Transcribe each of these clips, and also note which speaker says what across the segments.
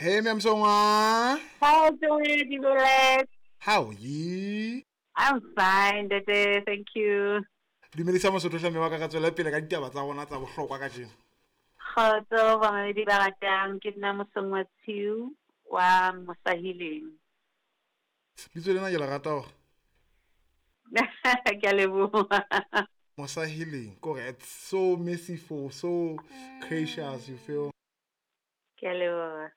Speaker 1: Hey, Msongwa.
Speaker 2: How doing, Dibelet?
Speaker 1: How are you?
Speaker 2: I'm fine, Dede. Thank you.
Speaker 1: Dumedisa mosotho hle mme wa ka ka tswela pele ka ditaba tsa rona tsa bohlokwa kajeno.
Speaker 2: Kgotso bamamedi ba ratang, ke nna Mosongwa Tshiu wa Mosahileng.
Speaker 1: Bitso lena ke le rata hore.
Speaker 2: Ke a leboha.
Speaker 1: Mosahileng, kore it's so merciful, so gracious, you feel.
Speaker 2: Ke a leboha.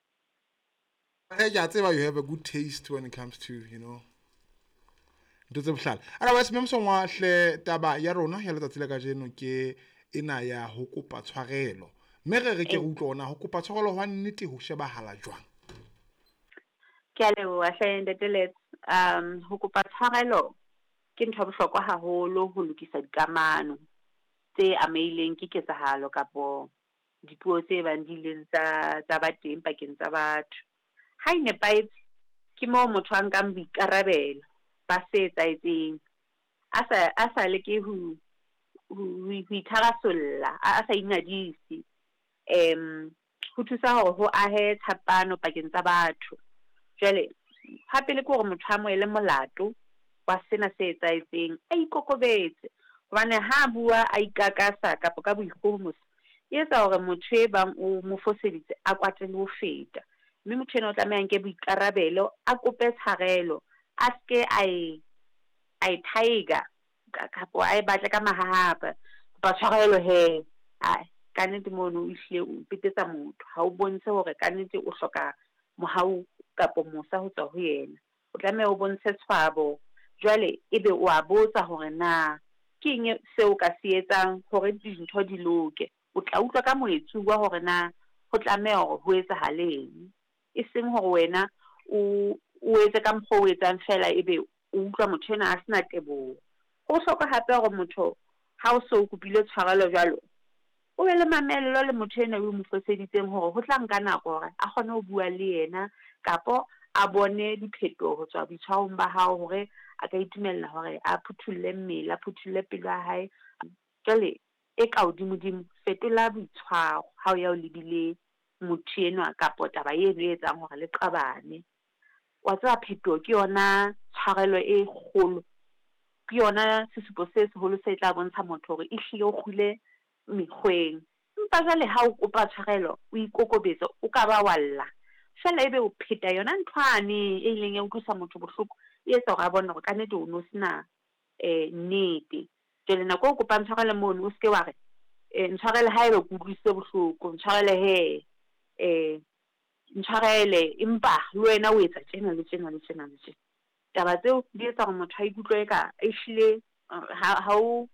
Speaker 1: Hey, ke a tseba you have a good taste when it comes to, you know, ntho tse bohlale. Otherwise, mme Mosongwa hle taba ya rona ya letsatsi la kajeno ke ena ya ho kopa tshwarelo. Mme re re ke re utlwe hore na ho kopa tshwarelo hwa nnete ho shebahala jwang.
Speaker 2: Ke a leboha hle Ntate Lets. Ho kopa tshwarelo ke ntho ya bohlokwa haholo ho lokisa dikamano tse amehileng ke ketsahalo kapo dipuo tse bang di ileng tsa tsa ba teng pakeng tsa batho. Ha e nepahetse, ke moo motho a nkang boikarabelo ba se etsahetseng, a sa a sa leke ho ho ho itharasolla, a sa ingadise. Ho thusa hore ho ahe tshepano pakeng tsa batho. Jwale ha pele ke hore motho a amohele molato wa sena se etsahetseng, a ikokobetse. Hobane ha a bua a ikakasa kapa ka boikgohomoso, e etsa hore motho e bang o mo foseditse a kwate le ho feta. Mme motho enwa o tlameha a nke boikarabelo, a kope tshwarelo, a seke a e a e thaeka kapo a e batle ka mahahapa. Kopa tshwarelo hee, ae kannete mono o hlile o petetsa motho, ha o bontshe hore kannete o hloka mohau kapo mosa ho tswa ho yena. O tlameha o bontshe tshwabo, jwale ebe o a botsa hore na ke eng seo o ka se etsang hore dintho di loke. O tla utlwa ka moetsuwa hore na ho tlameha hore ho etsahale eng. E seng hore wena o o etse ka mokgwa o etsang feela ebe o utlwa motho enwa a sena teboho. Ho bohlokwa hape hore motho ha o so kopile tshwarelo jwalo, o be le mamello le motho enwa o mo foseditseng hore ho tla nka nako hore a kgone ho bua le yena kapo a bone diphetoho ho tswa boitshwarong ba hao hore a ka itumella hore a phuthulle mmele, a phuthulle pelo ya hae. Jwale e ka hodimodimo, fetola boitshwaro ha o ya o lebile motho enwa kapo taba eno e etsang hore le qabane. Wa tseba phetoho ke yona tshwarelo e kgolo, ke yona sesupo se seholo se tla bontsha motho hore ehlile o kgule mekgweng. Empa jwale ha o kopa tshwarelo, o ikokobetsa, o ka ba wa lla, feela ebe o pheta yona nthwane e ileng ya utlwisa motho bohloko, e etsa hore a bone hore kannete o no sena nnete. Jwale nako e o kopang tshwarelo mono, o seke wa re ntshwarele haeba ke utlwisitse bohloko, ntshwarele hee, ntshwarele empa le wena o etsa tjena le tjena le tjena le tjena. Taba tseo di etsa hore motho a ikutlwe eka ehlile ha ha o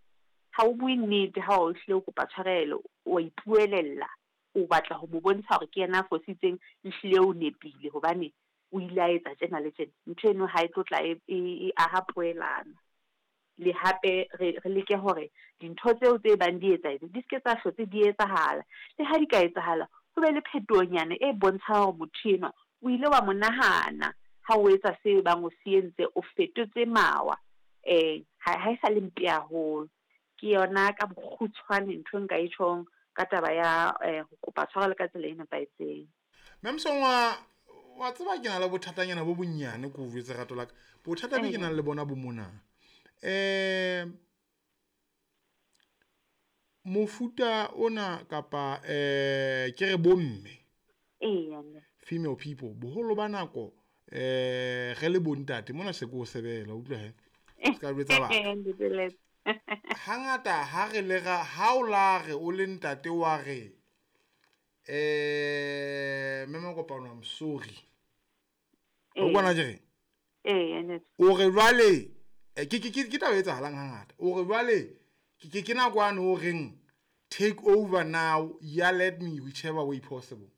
Speaker 2: ha o bue nnete ha o hlile o kopa tshwarelo, wa ipuelella, o batla ho mo bontsha hore ke yena a fositseng, ehlile o nepile hobane o ile a etsa tjena le tjena. Ntho eno ha e tlo tla e e aha poelano. Le hape re re leke hore dintho tseo tse bang di etsahetse di seke tsa hlotse di etsahala. Le ha di ka etsahala, ho be le phetohonyana e bontshang hore motho enwa o ile wa mo nahana ha o etsa se bang o se entse, o fetotse mawa. Ha e sa le mpe haholo. Ke yona ka bokgutshwane ntho e nka e tjhong ka taba ya ho kopa tshwarelo ka tsela e nepahetseng.
Speaker 1: Mme Mosongwa, wa tseba ke na le bothatanyana bo bonyane ko o jwetse rato la ka. Bothata be ke nang le bona bo mona. Mofuta ona kapa ke re bomme. Female people, boholo ba nako re le bontate mona se ko sebela utlwa he. Ska jwetsa batho. Hangata ha re le ra ha o la re o le ntate wa re mme Makopano, I'm sorry. O bona ke reng? O re jwale ke ke ke taba e etsahalang hangata. O re jwale ke ke nako yane o reng take over now, yell at me whichever way possible.